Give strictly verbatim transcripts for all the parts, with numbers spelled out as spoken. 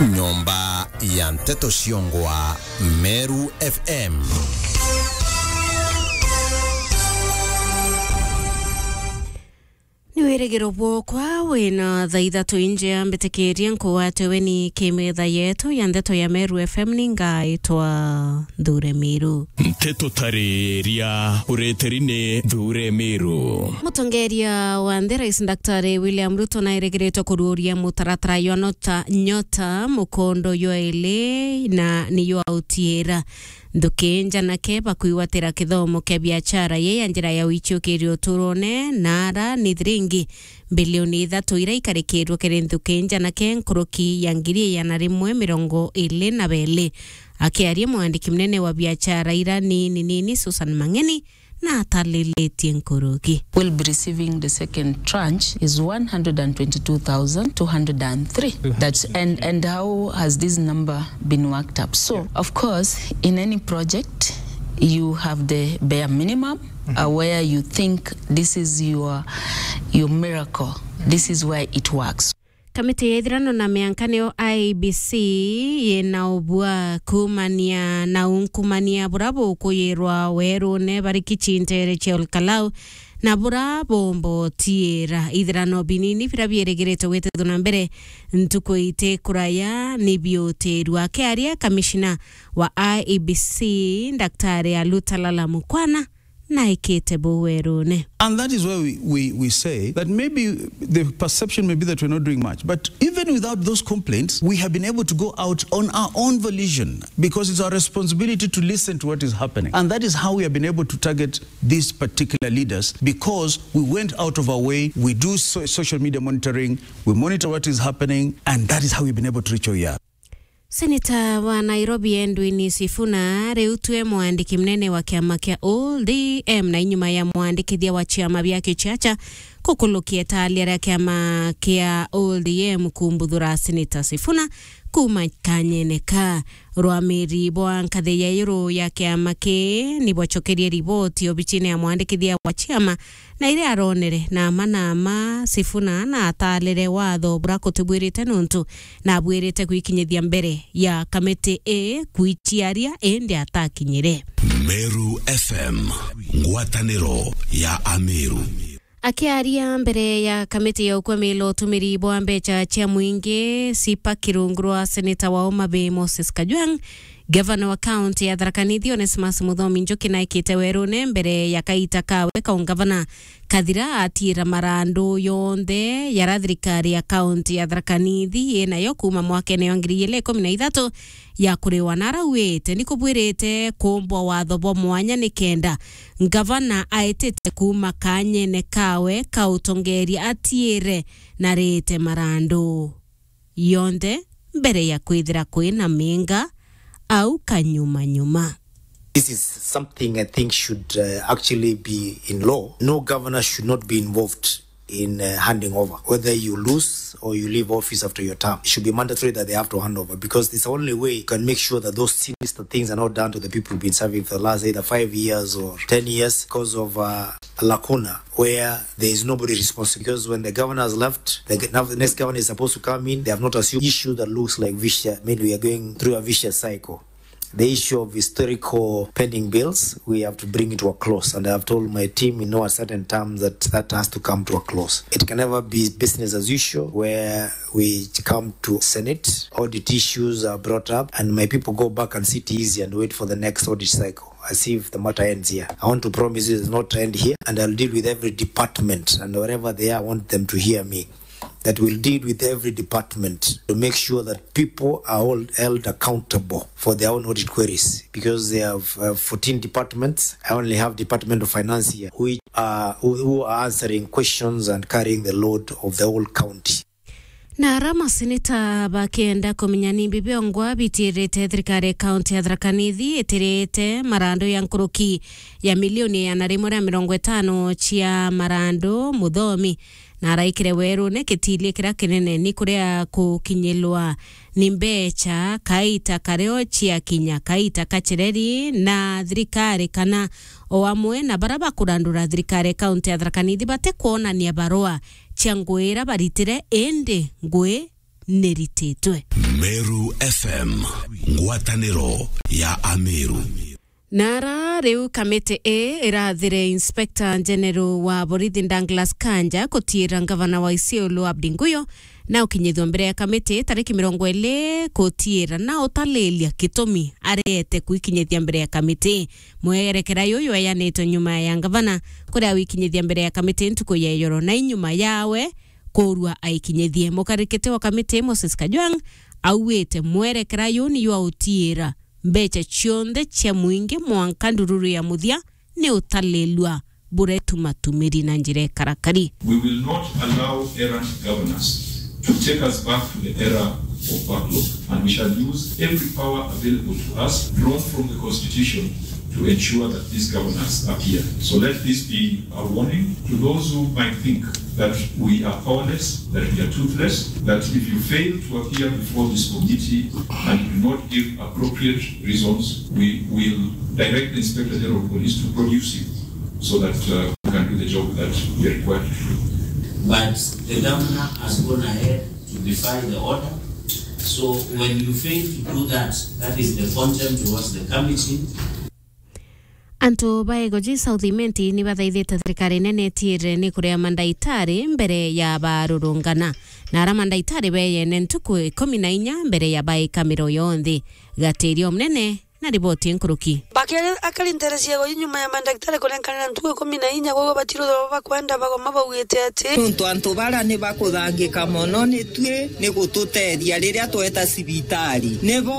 Nyomba ya nteto ciongwa Meru F M. Ni wirigiro bwokwa wina thaa ithatu injea mbitikirie nkugwate weni kimetha yetu ya nteto ya Meru F M, ni ngaitwa Nthure Miru. Nteto tariria ureteri ni Nthure Miru. Mutongeria wa nthi Rais Daktari William Ruto nairigiritwe kururia mutaratara jwa Nota, Nyota mukondo jwa ili na ni jwa utiira. Nthuki njanake bakwigwatira kithomo kia biachara ye ya njira ya wichukiria uturone na ara ni thiringi mbilioni ithatu ira ikarikirwe kiri nthuki njanake nkuruki ya ngiri igana rimwe mirongo iri na beli. Akiaria mwandiki munene wa biachara ira nini nini Susan Mang'eni na atalilitie nkuruki. Will be receiving the second tranche is one hundred and twenty-two thousand two hundred and three. That's, and, and how has this number been worked up? So, of course, in any project, you have the bare minimum, uh, where you think this is your, your miracle, this is where it works. Kamiti ya ithirano na mianka niyo I E B C yina ubua kuumania na unkumania bura bukuyirwa werune bari Kichi ntere cia Olkalau na bura bomba utiira. Ithirano binini bira bierigiritwe gwitithwa na mbere ntuku iti kuraya ni biutirwa. Akiaria kamishina wa I E B C, Daktari Alutalala Mukwana, naikite buu werune. And that is why we, we, we say that maybe the perception may be that we're not doing much. But even without those complaints, we have been able to go out on our own volition because it's our responsibility to listen to what is happening. And that is how we have been able to target these particular leaders, because we went out of our way. We do so-, social media monitoring. We monitor what is happening. And that is how we've been able to reach where we are. Seneta wa Nairobi Edwin Sifuna riu twe mwandiki munene wa kiama kia O D M, na inyuma ya mwandikithia wa ciama bia kichacha kukulukia italia ria kiama kia O D M kumbuthura Seneta Sifuna kuma kanyene ka rwamiri bwa nkathi ya iguru ya kiama ki ni bwacokerie riboti obicine ya mwandikithia wa ciama, na iria aronere na ama na ama, Sifuna na atalire watho bura kutibwirite nuntu na abwirite gwikinyithia mbere ya kamiti ii kwiciaria, indi atakinyire. Meru F M, ngwataniro ya Ameru. Akiaria mbere ya kamiti ya ukwamila utumiri bwa mbecha cia mwingi, sipa kirungu rwa seneta wa Homa Bay Moses Kajwang', gavana wa kaunti ya Tharaka Nithi Onesmus Muthomi Njuki naikite werune mbere ya kaita kawe ka ungavana kathira atiira marandu yonthe yara thirikari ya kaunti ya Tharaka Nithi inayo kuuma mwakene wa ngiri igiri ikumi na ithatu ya kuriwa, na arauite ni kubwirite kumbwa watho bwa mwanya nikenda ngavana aitite kuuma kanyene kawe ka utongeria atiire na rite marandu yonthe mbere ya kwithira kwina minga au kanyuma nyuma. This is something I think should, uh, actually be in law. No governor should not be involved in, uh, handing over. Whether you lose or you leave office after your term, it should be mandatory that they have to hand over, because it's the only way you can make sure that those sinister things are not done to the people who've been serving for the last either five years or ten years because of, uh, a lacuna where there is nobody responsible. Because when the governor has left, the g-, now the next governor is supposed to come in. They have not assumed issue that looks like vicious. I mean, we are going through a vicious cycle. The issue of historical pending bills, we have to bring it to a close. And I have told my team in no uncertain terms that that has to come to a close. It can never be business as usual where we come to Senate, audit issues are brought up, and my people go back and sit easy and wait for the next audit cycle, as if the matter ends here. I want to promise you it does not end here, and I'll deal with every department, and wherever they are, I want them to hear me, that we'll deal with every department to make sure that people are all held accountable for their own audit queries, because they have, uh, fourteen departments. I only have Department of Finance here, which are, who, who are answering questions and carrying the load of the whole county. Na ara maseneta bakienda kumenya ni mbi biongwa bitirite thirikari ya kaunti ya Tharaka Nithi itirite marandu ya nkuruki ya milioni igana rimwe ria mirongo itano cia marandu Muthomi, na araikire werune gitilie kiria kinene ni kuria kukinyilwa ni mbecha kaita kario ciakinya kaita kacireri na thirikari kana o amwe na bara bakurandura thirikari ya kaunti ya Tharaka Nithi batikwonania barua cia ngui ira baritire, indi ngui nirititwe. Meru F M, ngwataniro ya Ameru. Nara riu kamiti ii irathire Inspector General wa borithi Douglas Kanja kutiira ngavana wa Isiolo Abdi Nguyo na ukinyithua mbere ya kamiti tariki mirongo iri kutiira na utalilia gitumi areete kwikinyithia mbere ya kamiti. Mwerekera juju jweyanitwe nyuma ya ngavana kuria wikinyithia mbere ya kamiti ntuku ya ijoro na inyuma yawe kurua aikinyithie. Mukarikiti wa kamiti Moses Kajwang' auite mwerekera ju ni jwa utiira mbecha cionthe cia mwingi mwanka ndururu ya muthia ni utalilua buretumatumiri na njira ikarakari. We will not allow errant governors to take us back to the era of bad luck, and we shall use every power available to us, drawn from the Constitution, to ensure that these governors appear. So let this be a warning to those who might think that we are powerless, that we are toothless, that if you fail to appear before this committee and do not give appropriate reasons, we will direct the Inspector General of Police to produce you so that, uh, we can do the job that we are required to do. But the governor has gone ahead to defy the order. So when you fail to do that, that is the contempt towards the committee. Antu ba Igoji South Imenti ni bathaithite thirikari nene itiire ni kuria mandaitari mbere ya barurungana. Na ara mandaitari beyene ntuku ikumi na inya mbere ya baika miro yonthe. Gatirio munene na riboti nkuruki. Bakere akari nterecia Igoji nyuma ya mandaitari kurenkana na ntuku ikumi na inya, kwou batiruthwa bakwenda bagoma baugite ati, nontu antu bara ni bakuthangika mono ni tui ni gututethia riria tweta cibitari. Nibo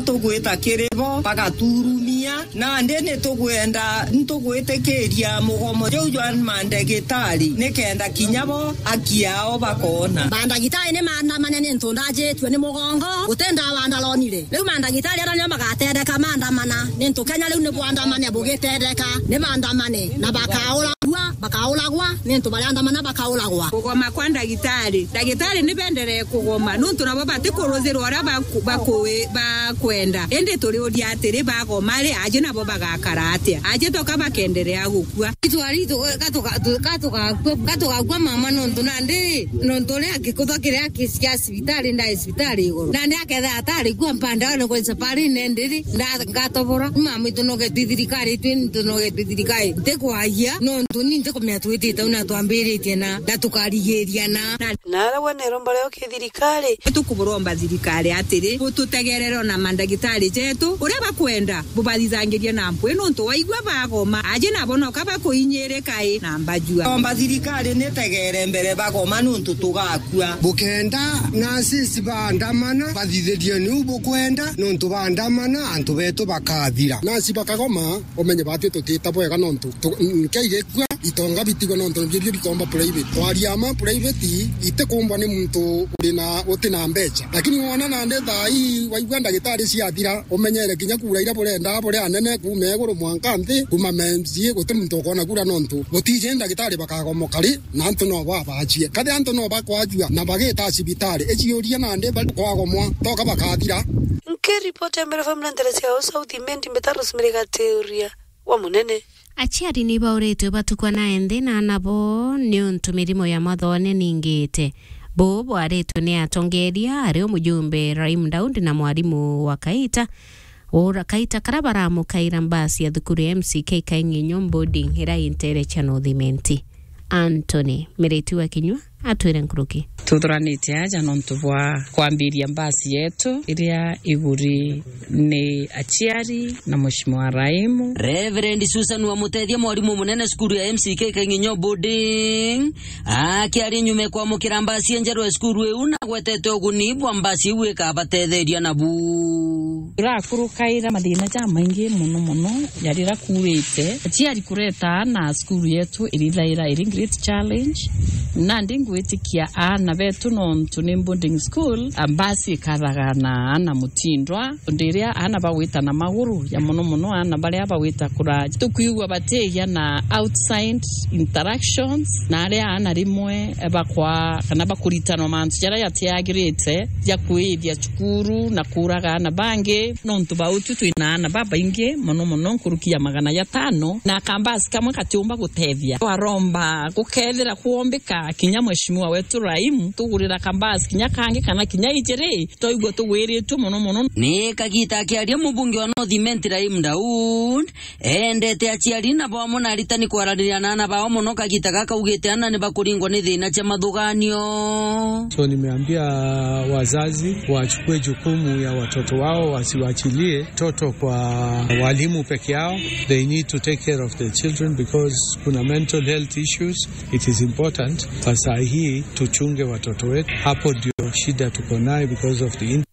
tugwita kiri bo, bagaturumia. Nandi ni tugwenda, ni tugwitikiria mugomo juu jwa mandagitari, ni kenda kinya bo aki yao bakoona. Mandagitari ni maandamane ni ntu ndajitue ni mugongo, guti ndawa ndaronire. Riu mandagitari ara nio magatetheka maandamana, ni ntu Kenya riu ni bwandamane bugitetheka, ni maandamane na bakauragua, bakauragwa, ni ntu bariandamana bakauragwa. Kugoma kwa ndagitari. Ndagitari ni benderee kugoma, nontu nabo batikuruzirwa uria baku-, baku-, bakwenda. Indi turiuria atiri, bagoma ri, aji nabo bagakara atia? Aji toka bakenderea gukua. Itwari tu-, gatuga-, tu-, gatuga-, gatugakua mama, nontu nandi, nontu uria gikutho kiria ki-, kia cibitari, ndai cibitari iguru. Nandi akethira atari kua mpanda, ni kwensa pari nendiri, nda-, ngatobora. Mama itu nogetwi thirikari, itwi ntu nogetwi thirikari. Ntikwagia, nontu ni ntikumenya twitite una twambiritie na, na tukarigiria na. Na Na ara we neromba rio ki thirikari? Tukuburomba thirikari atiri, bututegerere ona mandagitari jetu, uria bakwenda, bubathithangirie na mpwi, nontu waigua bagoma, aji nabo noka bakuinyirika i na mbajua. Omba thirikari nitegere mbere bagoma, nontu tugakua. Bukenda nurses baandamana, bathithirie niu bukwenda, nontu baandamana, antu betu bakathira. Nurse bakagoma, umenye bati tutita bwega, nontu tu-, nkei gikua, itonga bitigwe, nontu nibio bikomba private. Twaria ma private, itikumbwa ni muntu uri na, uti na mbecha. Lakini wona nandi thaa ii, waigua ndagitari ciathira, umenyere kinya kura iria burenda, buri anene, kuma iguru mwanka nthi, kuma M C A, guti muntu ukona kura, nontu gutiji ndagitari bakagomoka ri, na antu no babajie. Kathi antu no bakwajua, na bagita cibitari, iciuria nandi bari kwagomwa, toka bakathira. Nkiripoti ya Meru F M na nterecia South Imenti, mbita Rosemary Gatiuria wa Munene. Aciari ni bauritwe batukwa na enthi na ana bo niuntu mirimo ya mathoone ningite. Buu bwaritwe ni atongeria, ari o mujumbe Rahim Daudi na mwarimu wa Kaita. Ura Kaita kara baramukaira mbasi ya thukuru ya M C K Kaing'inyo Boarding ira intere cia North Imenti. Anthony Miriti wa Kinyua atwire nkuruki. Tuthuranite aja nontu bwa kwambiria mbasi yetu iria iguri ni aciari na Mheshimiwa Raimu. Reverend Susan Wamutethia, mwarimu munene cukuru ya M C K Kaing'inyo Boarding, akiaria nyuma ya kwamukira mbasi njerwa ya cukuru iu, na agwetete uguni bwa mbasi iu ikabatetheria nabu. Turakurukaira mathina jamaingi mono mono, ja riria kuurite. Aciari kureta aana cukuru yetu irithaira iri great challenge. Nandi ngwitikia aana betu nontu ni boarding school, a, mbasi ikathaga na aana mutindwa. Tondu riria aana bagwita na maguru, ja mono mono aana baria bagwita kuraja, tukwigua batigia na outside interactions, na aria aana rimwe bakwa kana bakuritanwa mantu jaria jatiagirite ja kwithia cukuru na kuuraga aana bangi, nontu ba utu twina aana babaingi mono mono, nkuruki ya magana jatano, na kambasi kamwe katiumba gutethia. Twaromba gukethira kwombika Kinya mheshimiwa wetu Rahim, tugurira kambasi kinya kangi kana kinya ijiri, twaigua tugwiritue mono mono. Ni kagita akiaria mubunge wa North Imenti Rahim Daud, eendete aciari na bamwe na aritani kwaraniria na ana bao mono kagita gaka, augite ana ni bakuringwa ni thina cia mathuganio. So nimeambia wazazi wachukue jukumu ya watoto wao, wasiwachilie toto kwa walimu peke yao. They need to take care of the children because kuna mental health issues. It is important. Kwa saa hii tuchunge watoto wetu. Hapo ndio shida tuko nayo because of the in-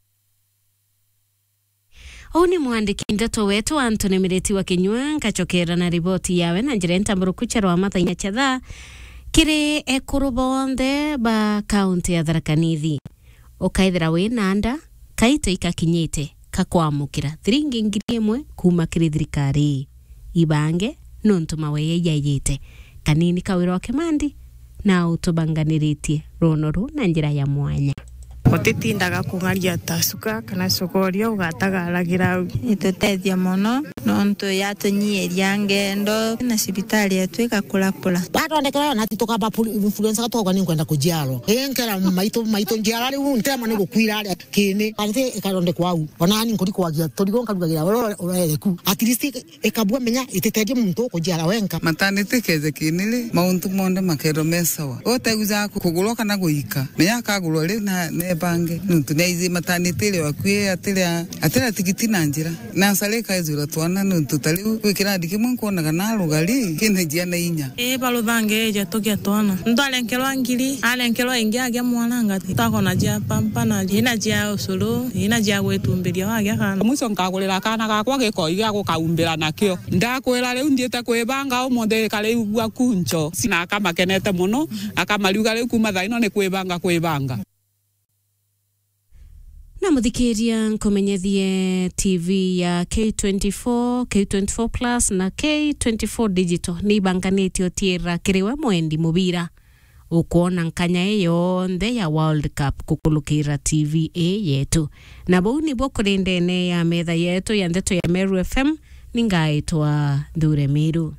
Uu ni mwandiki ndeto wetu Anthony Miriti wa Kinyua, nkacokera na riboti yawe na njira ntamburuku cia rwa mathaina cha thaa kiri ekuru bonthe ba kaunti ya Tharaka Nithi. Ukaithira wi na nda, kaito ikakinyite ka kwamukira thiringi ngiri imwe kuuma kiri thirikari. Ibange nontu maweye ijayite kanini ka wira wa kimandi na utubanganiritie runo ruu na njira ya mwanya. Utitindaga kung'aria ta suka kana cogoria ugatagaragira au. Itutethia mono nontu yatunyiiria ngendo na cibitari yetu igakurakura. Wathondekera yo nati tukamba pul-, influencer gatoga ni nkwenda kujiarwa. Inkera maitu, maitu njiara riu ntema ni gukwira aria kini. Ati ikathondekwa au. Ona ni nkuri kwagia turigo nkarugagira ura, ura, urereku. At least ikabua menya ititeje muntu ukujiara wenka. Maternity keje kini ri, mauntu monthe makerwa me sawa. Uteguja kugurwa kana guika. Menya akagurwa ri na nebange. Nontu ni aiji maternity ri wakui atira, atira tigiti na njira. Nasari ikaijura twana nontu ta riu gwi kirandi kimwe nkwonaga na rugari kina jiana inya. Ii, baruthange eja tugia twana. Muntu arenkerwa ngiri, arenkerwa ingi agia mwana ngati. Twakona jia pampa na ina jia ucuru, ina jia gwitumbiria wagia kana. Mwico nkagurira kana gakwa gikoi gia gukaumbira nakio. Ndakwira riu nthiite kwibanga umuthi kariigua kuncho. Sina akamakenete mono, akamariuga riu kuma thaa ino ni kwibanga kwibanga. Na muthikiria, nkumenyethie T V ya K twenty-four, K twenty-four Plus na K twenty-four Digital ni ibanganitie utiira kiri we mwendi mubira. Ukwona nkanya ii yonthe ya World Cup kukulukira T V ii yetu. Na buu nibuo kuri ndene ya metha yetu ya ndeto ya Meru F M, ni ngaitwa Nthure Miru.